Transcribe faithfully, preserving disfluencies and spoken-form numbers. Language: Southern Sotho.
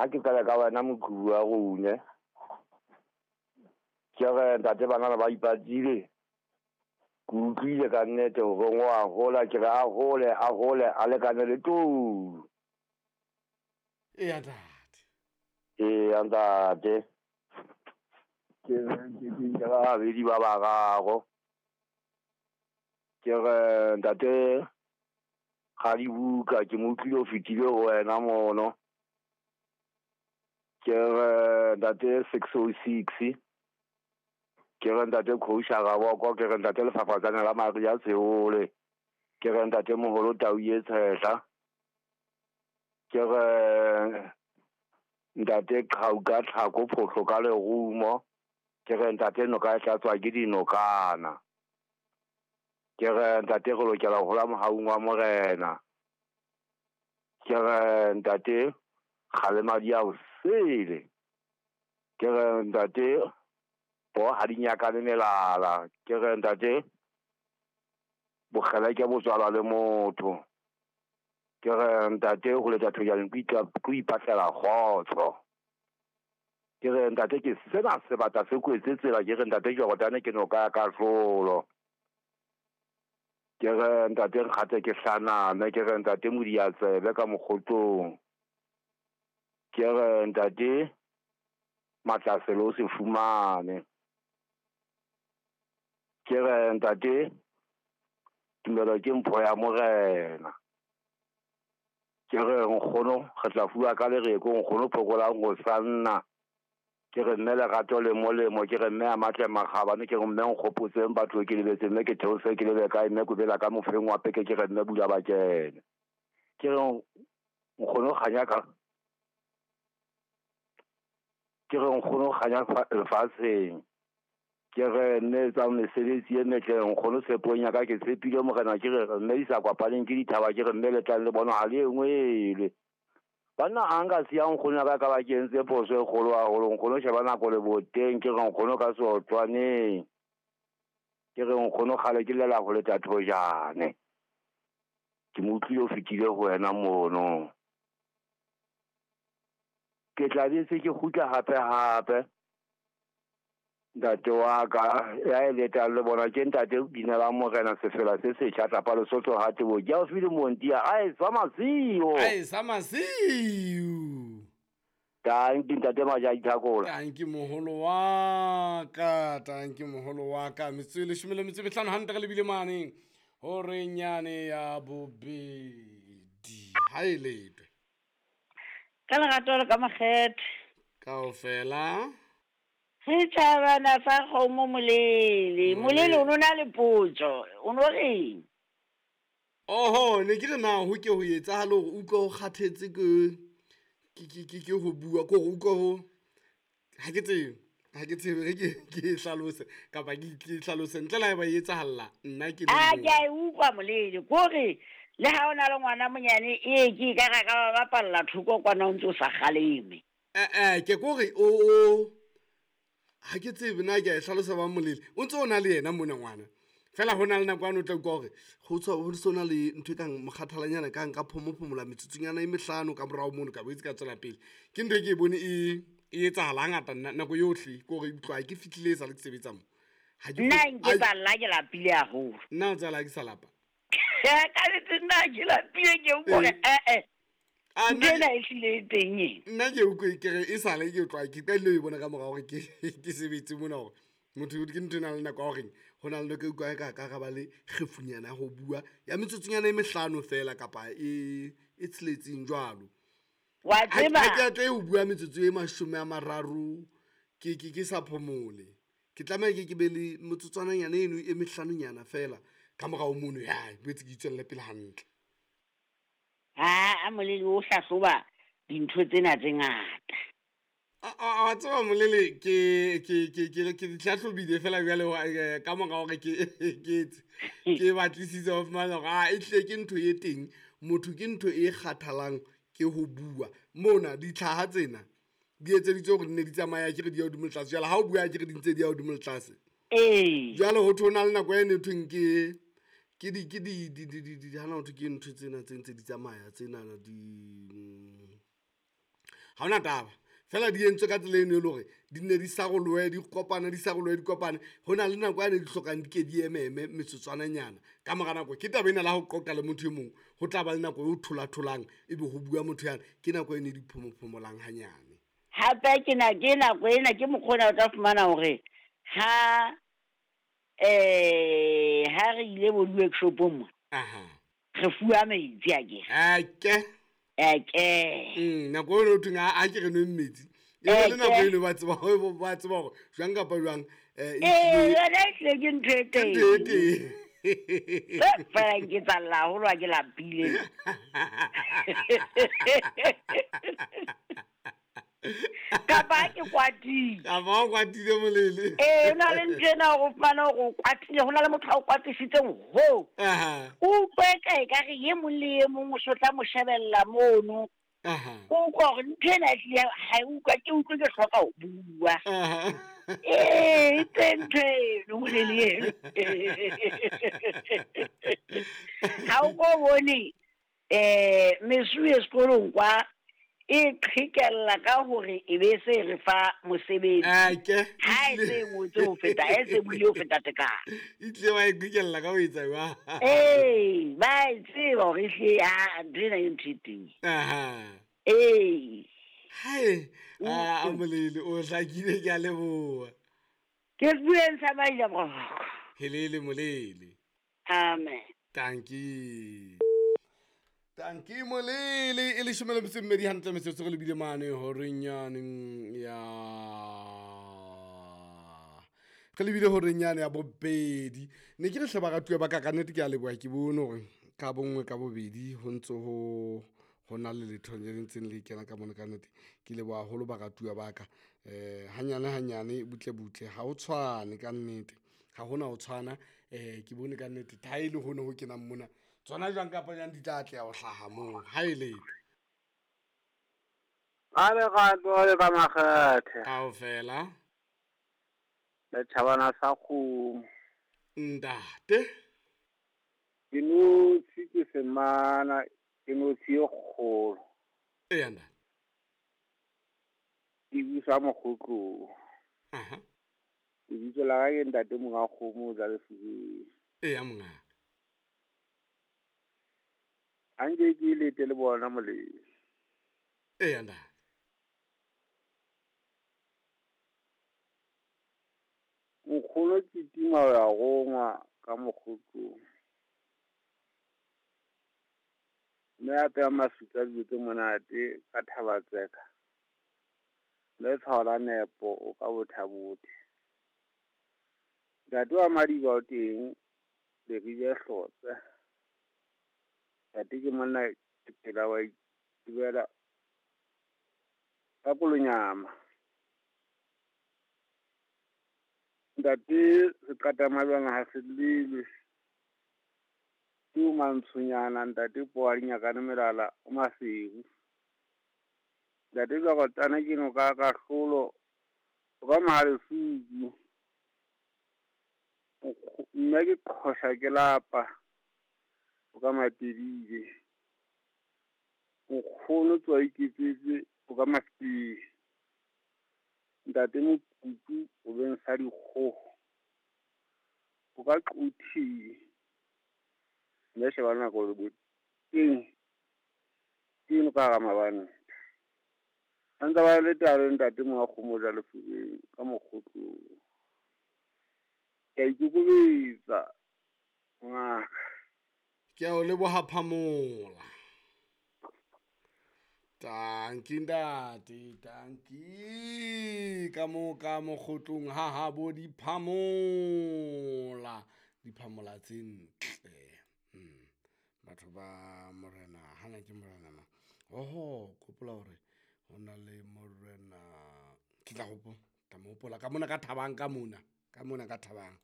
Ha ke qala ka wena moqhubu wa rone. Ke re ntate bana ba ipatile. Ke utlwile ka nnete hore o a hola, ke re a hole, a hole, a lekane le tou. Eya ntate. Eya ntate. Ke re ke ke ba babedi ba bararo. Ke re ntate Radibuka ke mo utlwile o fetile ho wena mono. Ke re ntate six oh six. Ke re ntate Khousha Raboko, ke re ntate Lefafatsane la Maria Seole. Ke re ntate Moholo Tau e Tshehla. Ke re ntate Qhauka Tlhako Phohlo ka lerumo. Ke re ntate noka e tlatswa ke dinokana. Ke re ntate re lokela ho hola mohaung wa Morena. Ke re ntate kgalema di a o sele. Ke re ntate bo ha di nyakane melala. Ke re ntate bokgeleke bo tswalwa le motho. Ke re ntate ho letsa thojane ke ipatlela kgotso. Ke re ntate ke sena sebata se kwetse tsela. Ke re ntate Jordane ke noka ya kahlolo. Ke re ntate nkgate ke hlaname. Ke re ntate Modiatsebe ka mokgotong. Ke re ntate Matlasele o se fumane. Ke re ntate tumelo ke mpho ya Morena. Ke re nkgono re tla fuwa ka lereko, nkgono phokolang ho sanna. Ke re mme lerato le molemo, ke re mme a matle makgabane, ke re mme nkgopotseng batho ke lebetse, mme ke theose ke lebe kae, mme kobela ka mofeng wa peke, ke re mme bula ba kene. Ke re nkgono kganya ka, ke re nkgono kganya lefatsheng. Ke re mme tsa mesebetsi e metle, nkgono tshepong ya ka ke tshepile Morena. Ke re mme di sa kopaneng ke dithaba, ke re mme le tlang le bona ha le e nngwe ele. Banna a nka siya nkgono ya ka ka ba ke entse phoso e kgolo haholo. Nkgono sheba nako le boteng, ke re nkgono ka seotlwaneng. Ke re nkgono kgale ke llela ho leta thojane. Ke mo utlwile o fetile ho wena mono. Ke tla bese ke kgutla hape hape. Ntate wa ka ya e letang le bona ke ntate Binela Morena sefela se setjha tlapa Lesotho ha tebo. Ke a o file Montia a e sa masiu. A e sa masiu. Tanki ntate Maja Ithakola. Tanki moholo wa ka, tanki moholo wa ka. Metsotso e leshome le metso e mehlano hantle re lebile mane hore nyane ya bobedi. Ha e letwe. Ka lerato le ka makgethe. Kaofela. Setjhabana sa kgomo Molele. Molele o no na le potso, o no reng? Oho, ne ke re na ho ke ho etsahale hore utlwe o kgathetse ke ke ke ke ho bua, ke hore utlwe ho ha ke tsebe, ha ke tsebe re ke ke hlalose kapa ke ke hlalose ntle le ha e ba etsahalla nna ke le. A ke a utlwa Molele, ke hore le ha o na le ngwana monyane e ke ka ra ka ba bapalla thoko kwana o ntse o sa kgaleme. Eh eh ke kore o o ha ke tsebe na ke a hlalosa ba Molele o ntse o na le yena mona ngwana fela ho na le nako ano tla utlwa hore ho tswa ho sona le ntho e kang mokgathalanyana ka nka phomophomola metsotsonyana e mehlano ka morao mono ka boetse ka tswela pele. Ke ntho e ke e bone e e etsahala hangata nako yohle, ke hore utlwa ke fihlile e sa le ke sebetsa mo. Ha ke nna nke tsalla ke lapile haholo. Nna o tsala ke sa lapa. Ka nnete nna ke lapile ke utlwa eh eh. Nna e hlile e teng e. Nna ke utlwe ke re e sale ke utlwa ke qadile ho e bona ka morao hore ke ke sebetse mona hore motho ke ntho e nang le nako ya horeng ho na le nako e utlwa e ka ka ra ba le kgefunyana ya ho bua ya metsotsonyana e mehlano fela kapa e e tsheletseng jwalo. Wa tseba ha ke a tle ho bua metsotso e mashome a mararo ke ke ke sa phomole. Ke tlameha ke ke be le motsotswananyana eno e mehlanonyana fela ka morao mono ya boetse ke itswelle pele hantle. Ha a Molele o hlahloba dintho tsena tse ngata. A a tseba Molele ke ke ke ke ke hlahlobile fela jwale ka mora hore ke ke ke batlisitse ho fumana hore a e tle ke ntho e teng, motho ke ntho e kgathalang ke ho bua. Mona ditlhaha tsena di etseditswe hore di ne di tsamaya ke re di ya hodimo le tlase. Jwale ha o bua ke re di ntse di ya hodimo le tlase. Ee. Jwale ho thwe ho na le nako e ne thweng ke ke di ke di di di di di hana ho thwe ke ntho tsena tse ntse di tsamaya tsena di Ha hona taba. Fela di entswe ka tsela eno e le hore di nne di sarolohe, di kopane, di sarolohe, di kopane. Ho na le nako yane di hlokang di ke di ememe metsotswananyana. Ka mora nako ke taba ena la ho qoqa le motho e mong, ho tla ba le nako e o thola-tholang ebe ho bua motho yane. Ke nako eno e di phomophomolang hanyane. Hape ke na ke nako ena ke mokgwa ona o tla fumana hore ha eh ha re ile bo di-workshopong mo, Aha. re fuwa metsi akere. Ake. Ake. Mm, nako eno ho thweng a a ke re nweng metsi. E be le nako Eke. eno ba tseba hore ba tseba hore jwang kapa jwang eh Ee, yona e hlile ke ntho e ke ntho e teng. teng. E fela nke tsalla haholo ha ke lapile. Kapa ha ke kwatile. Kapa ha o kwatile molele. Ee, ho na le ntho ena hore o fumane hore o kwatile, ho na le motho a o kwatisitseng hoo. Aha. O utlwe eka ekare e mong le e mong o so tla mo shebella mono. Aha. O utlwa hore ntho ena ehlile ha e utlwa, ke utlwe ke hloka ho bua. Aha. Ee, e teng ntho eno molele eno. Ha o ko bone eh mesuwe sekolong kwa e qhekella ka hore e be se re fa mosebetsi. Ake. Ha e se e ngotswe ho feta, ha e se e buile ho feta tekano. E tlile ba e qhekella ka ho etsa jwang? Ee, ba e tseba hore ehlile ha ntho ena ke ntho e teng. Aha. Ee. Hai, a molele o hlakile, ke a leboha. Ke bueng sa maila boroko. Helele molele. Amen. Tanki. Tanki molele e leshome le metso e mmedi hantle metsotso re lebile mane horeng yane ya re lebile horeng yane ya bobedi. Ne ke re hle baratuwa ba ka, ka nnete ke a leboha, ke bone hore ka bonngwe ka bobedi ho ntso ho ho na le letho le ntseng le kena ka mona ka nnete. Ke leboha haholo baratuwa ba ka. Eh hanyane hanyane butle butle ha ho tshwane ka nnete. Ha hona ho tshwana. Eh ke bone ka nnete ha e le hone ho kenang mona. Tsona jwang kapa jwang di tla atleha ho hlaha moo. Ha e letho. A le rato le ka makgethe. Kaofela. Le tjhabana sa kgomo. Ntate. Ke notshi ke semana, ke notshi e kgolo. Eya ntate. Ke busa mokgotlong. Aha. Lebitso la ka ke ntate monga kgomo o tla lefubeng. Eya monga. Ha nke ke lete le bona molemo. Eya ntate. Nkgono ke tima ho ya rongwa ka mokgotlong. Mme a peha mafika dijo tse monate ka Thabatseka. Le tshwao la nepo o ka bothabothe. Ntate wa Madiba o teng, Leribe Hlotse. Ntate ke monna ke phela wa itebela ka kolonyama. Ntate Seqatamalwana ha se llelwe. Ke o mantshonyana ntate Poa Dinyakane melala o Maseru. Ntate Jwakotana ke noka ka kahlolo o ka Mahalesuku. Mme ke qhosha ke lapa o ka Matebile. Nkgono tswa iketsetse o ka Mafikeng. Ntate Mokutu o beng sa dikgoho o ka Quthing. Mme sheba nako le bo teng ke eno ka hara mabanta. A ntse ba le taba ntate monga kgomo ja lefubeng ka mokgotlong. Ke a ikokobetsa ngaka. Ke a o leboha Phamola. Tanki ntate, tanki. Ka mo ka mokgotlong ha ha bo di Phamola. Di Phamola tse ntle. Mm. Batho ba morena, hana ke morena ma. Oho, kopola hore ho na le morena. Ke tla hopola, tla mo hopola ka mona ka Thabang ka mona. Ka mona ka Thabang.